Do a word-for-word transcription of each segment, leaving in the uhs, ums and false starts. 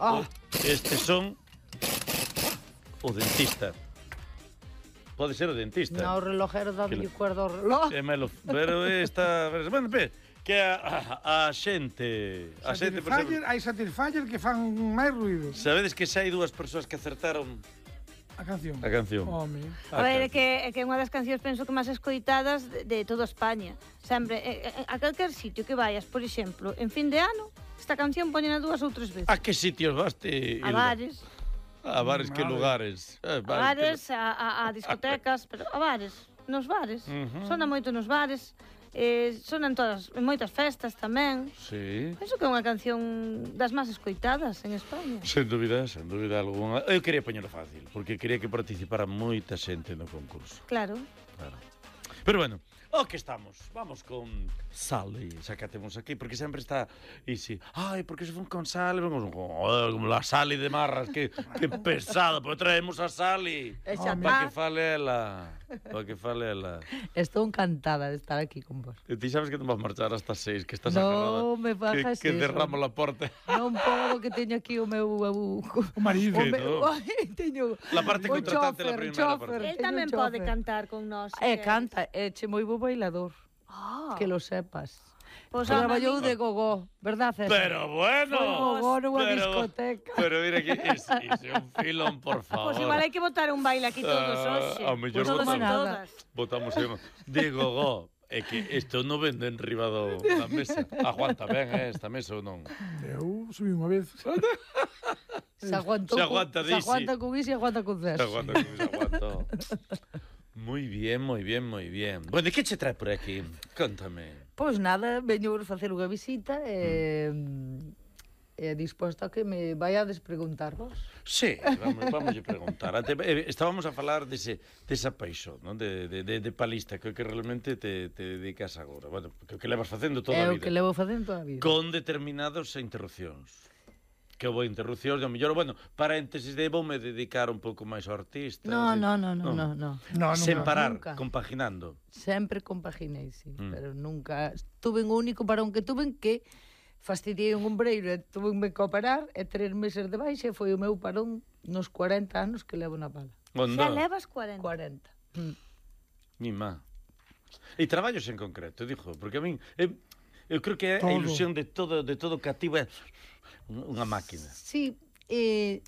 Oh. Estes son o dentista. Pode ser o dentista. No, o relojero dá Que de le- cuerda ao reloj. É melo, pero esta... Bueno, pe, que a, a, a xente... A xente, por Satisfyer, exemplo... hai Satisfyer que fan máis ruido. Sabedes que xa hai dúas persoas que acertaron A canción. a canción? Home. A ver, é que, é que é unha das cancións penso que máis escoitadas de, de toda España. Sempre, eh, eh, a calquer sitio que vayas, por exemplo, en fin de ano, esta canción poñena dúas ou tres veces. A que sitios vaste, A Hilda? bares, A bares, que Vale. lugares? a A bares, a, a, a discotecas, pero a bares, nos bares. Ujú. Sona moito nos bares, eh, sona en todas, en moitas festas tamén. Sí. Penso que é unha canción das máis escoitadas en España. Sen dúbida, sen dúbida alguna. Eu quería poñelo fácil, porque quería que participara moita xente no concurso. Claro. Claro. Pero bueno, o que estamos? Vamos con Sally, xa que a temos aquí, porque sempre está... E si, ai, porque se fun con Sally, vamos con... Oh, como la Sally de Marras, que, que pesada, pois traemos a Sally. E xa Para que está. fale ela, para que fale ela. Estou encantada de estar aquí con vos. E ti sabes que non vas marchar hasta seis, que estás agarrada. Non me fagas que, que eso. derramo la porta. Non podo, que teño aquí o meu... O, O marido. o meu, no. ai, teño... La parte o contratante chofer, la primeira chofer, parte. El teño tamén un pode chofer. cantar con nós. se E queres. canta, é che moi bo bailador, Ah, que lo sepas. pois, Traballou home, de gogó, verdad, César? Pero bueno. Foi gogó nunha pero, discoteca. Pero mira que iso é un filón, por favor. Pois igual hai que botar un baile aquí todos Ah, hoxe. ao mellor Todos e botamos nada. todas. Botamos aí, de gogó. É que isto non vende en riba do, da mesa. Aguanta ben, eh, esta mesa ou non? Eu subí unha vez. Se aguantou, Se con- aguanta, se Dixi. aguanta con iso e aguanta con César. Aguanta, se aguanta. Moi bien, moi bien, moi bien. Bueno, e que che trae por aquí? Contame. Pois nada, veño facer unha visita e... E disposto a que me vaiades preguntar vos. Sí, vamos, vamos a preguntar. Ante, eh, estábamos a falar dese, desa paixón, non? De, de, de, de palista, que, que realmente te, te dedicas agora. Bueno, que, que levas facendo toda É a o vida. que levo facendo toda a vida. Con determinadas interrupcións. Que houve interrupcións, de mellor, bueno, paréntesis de voume dedicar un pouco máis ao artista. No, así. no, no, no, no, no. No, Sen nunca. parar, Nunca. compaginando. Sempre compaginei, sí, Mm. pero nunca... Tuve un único parón que tuve que fastidiei un ombreiro e tuve que operar e tres meses de baixa e foi o meu parón nos cuarenta anos que levo na pala. Onda, Xa levas cuarenta. cuarenta. Mm. mi má. E traballos en concreto, dixo, porque a min... Eu, eu creo que é a Todo. ilusión de todo, de todo cativo é unha máquina. Sí, eh,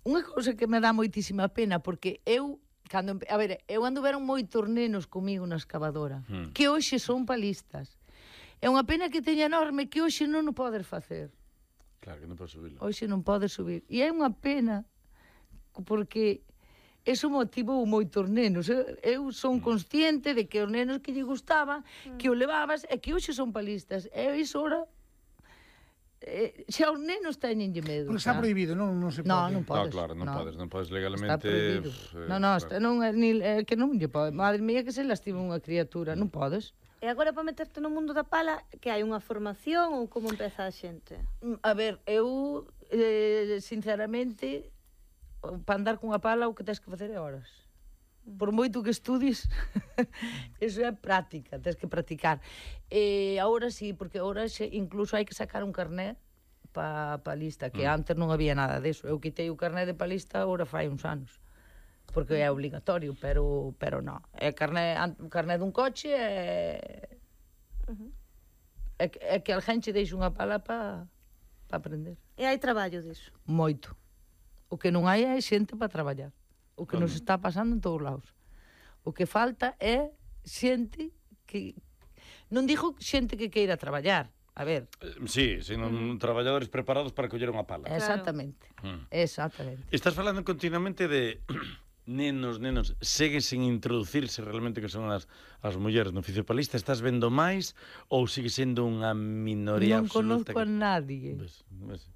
unha cousa que me dá moitísima pena, porque eu, cando, empe- a ver, eu ando veron moitos nenos comigo na excavadora, Hmm. que hoxe son palistas. É unha pena que teña enorme que hoxe non o podes facer. Claro que non podo subilo. Hoxe non podes subir. E é unha pena, porque eso motivou moitos nenos. Eu, eu son consciente de que os nenos que lle gustaban, que o levabas, e que hoxe son palistas. E iso ora... Eh, xa os nenos teñenlle medo. Porque está xa. prohibido, non, non se pode. No, non No, podes. claro, non no. podes, non podes Está legalmente... prohibido. eh, No, no, claro. está, non, é ni, é que non lle pode. Madre mía, que se lastima unha criatura, non podes. E agora para meterte no mundo da pala, que hai unha formación ou como empeza a xente? Mm, A ver, eu, eh, sinceramente, para andar cunha pala o que tens que facer é horas. Por moito que estudies, eso é práctica, tens que practicar. E agora sí, porque agora xe, incluso hai que sacar un carné pa palista, que Mm. antes non había nada deso. Eu quitei o carné de palista agora fai uns anos, porque é obligatorio, pero pero non. É carné, an- carné dun coche é... Uh-huh. É, que- é que alguén che deixa unha pala pa, pa aprender. E hai traballo diso. Moito. O que non hai é xente para traballar. O que nos Como? está pasando en todos lados. O que falta é xente que... Non digo xente que queira traballar. A ver, Eh, Sí, sino traballadores preparados para coller unha pala. exactamente. Mm. Exactamente. Estás falando continuamente de nenos, nenos, seguen sin introducirse realmente que son as, as mulleres no oficio palista. Estás vendo máis ou sigue sendo unha minoría Non absoluta? conozco a nadie. Ves, ves.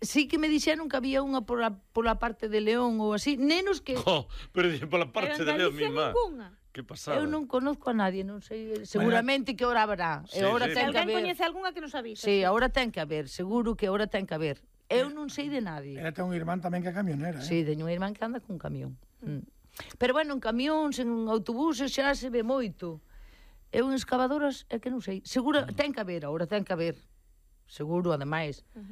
Sí que me dixeron que había unha pola, pola parte de León ou así. Nenos que... Jo, pero dicen pola parte Pero en de Leo Galicia misma. ningunha. Que pasada. Eu non conozco a nadie, non sei, seguramente que ahora haberá. Sí, e ahora sí. Se ten que alguén haber. coñece algunha que nos avisa. Sí, agora ten que haber, seguro que agora ten que haber. Eu non sei de nadie. Ela ten un irmán tamén que é camionera, eh? Sí, teño unha irmán que anda cun camión. Mm. Pero bueno, en camións, en autobuses xa se ve moito. Eu en excavadoras é que non sei. Seguro, ten que haber, agora ten que haber. Seguro, ademais. Uh-huh.